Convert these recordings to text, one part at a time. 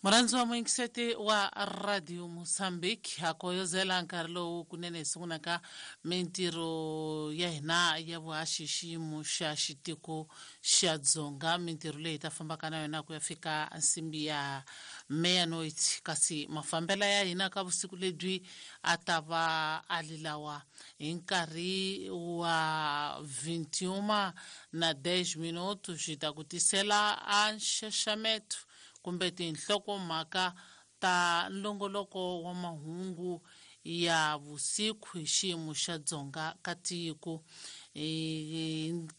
Murhandzi wa muyingiseti wa Radio Mozambique, ha koyozela nkarhi lowu kunene hi sungulaka mintirho ya hina ya vuhaxi xiyimo xa xitiko xa Dzonga, mintirho leyi hi ta fambaka na yona ku ya fika nsimbi ya meia-noite. Kasi mafambela ya hina ka vusiku lebyi a ta va a li lawa: hi nkarhi wa 21 na 10 minutos hi ta ku tisela a nxaxameto kumbe tinhlokomhaka ta nlongoloko wa mahungu ya vusiku hi xiyimo xa Dzonga ka tiko.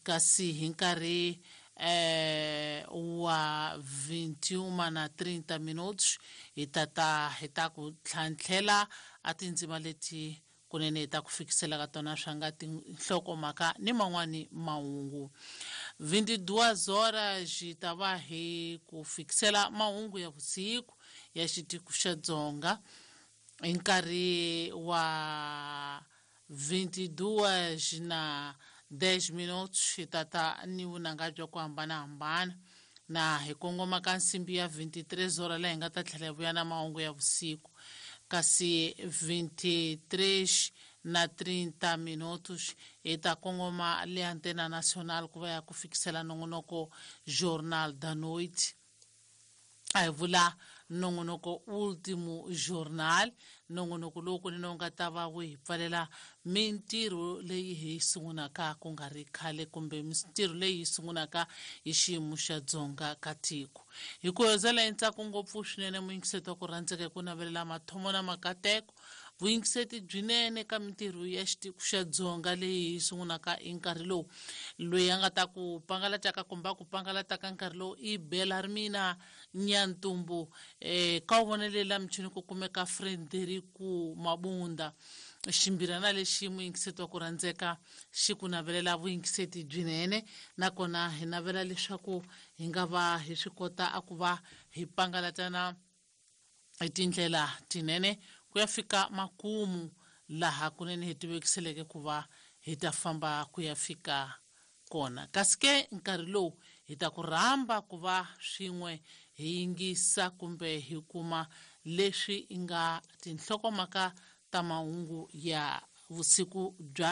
Kasi hi nkarhi wa 21 na 30 minutos hi tata hi ta ku tlhantlhela a tindzima leti kunene hi ta ku fikisela ka tona swa nga tinhlokomhaka ni man'wani mahungu. 22 horas hi ta va hi ku fikisela mahungu ya vusiku ya xitiko xa Dzonga. Hi nkarhi wa 22 na 10 minutos hi tata ni vunanga bya ku hambanahambana na hi kongoma ka nsimbi ya 23 hora, laha hi nga ta tlhela hi vuya na mahungu ya vusiku. Kasi 23 na 30 minutos hi ta kongoma le Antena Nacional ku va ya ku fikisela nongonoko Jornal da Noite, a hi vula nongonoko Ultimo Jornal, nongonoko lowu kunene wu nga ta va wu hi pfalela mintirho leyi hi sungulaka ku nga ri khale kumbe mintirho leyi hi sungulaka hi xiyimo xa Dzonga ka tiko. Hi ku hezela hi ntsako ngopfu swinene, muyingiseti wa ku rhandzeka, hi ku navelela mathomo na makateko, vuyingiseti byinene ka mintirho ya xitiko xa Dzonga leyi hi sungulaka hi nkarhi lowu. Loyi a nga ta ku pangalataka kumbe a ku pangalataka nkarhi lowu i Belarmina Nyantumbu. Ka wu vonele la michini ku kumeka Frederico Mabunda. Ximbirana lexi, muyingiseti wa ku rhandzeka, xi ku navelela vuyingiseti byinene, nakona hi navela leswaku hi nga va hi swi kota a ku va hi pangalatana hi tindlela tinene ku ya fika makumu laha kunene hi tivekiseleke ku va hi ta famba ku ya fika kona. Kasi ke nkarhi lowu hi ta ku rhamba ku va swin'we hi yingisa kumbe hi kuma leswi nga tinhlokomhaka ta mahungu ya vusiku bya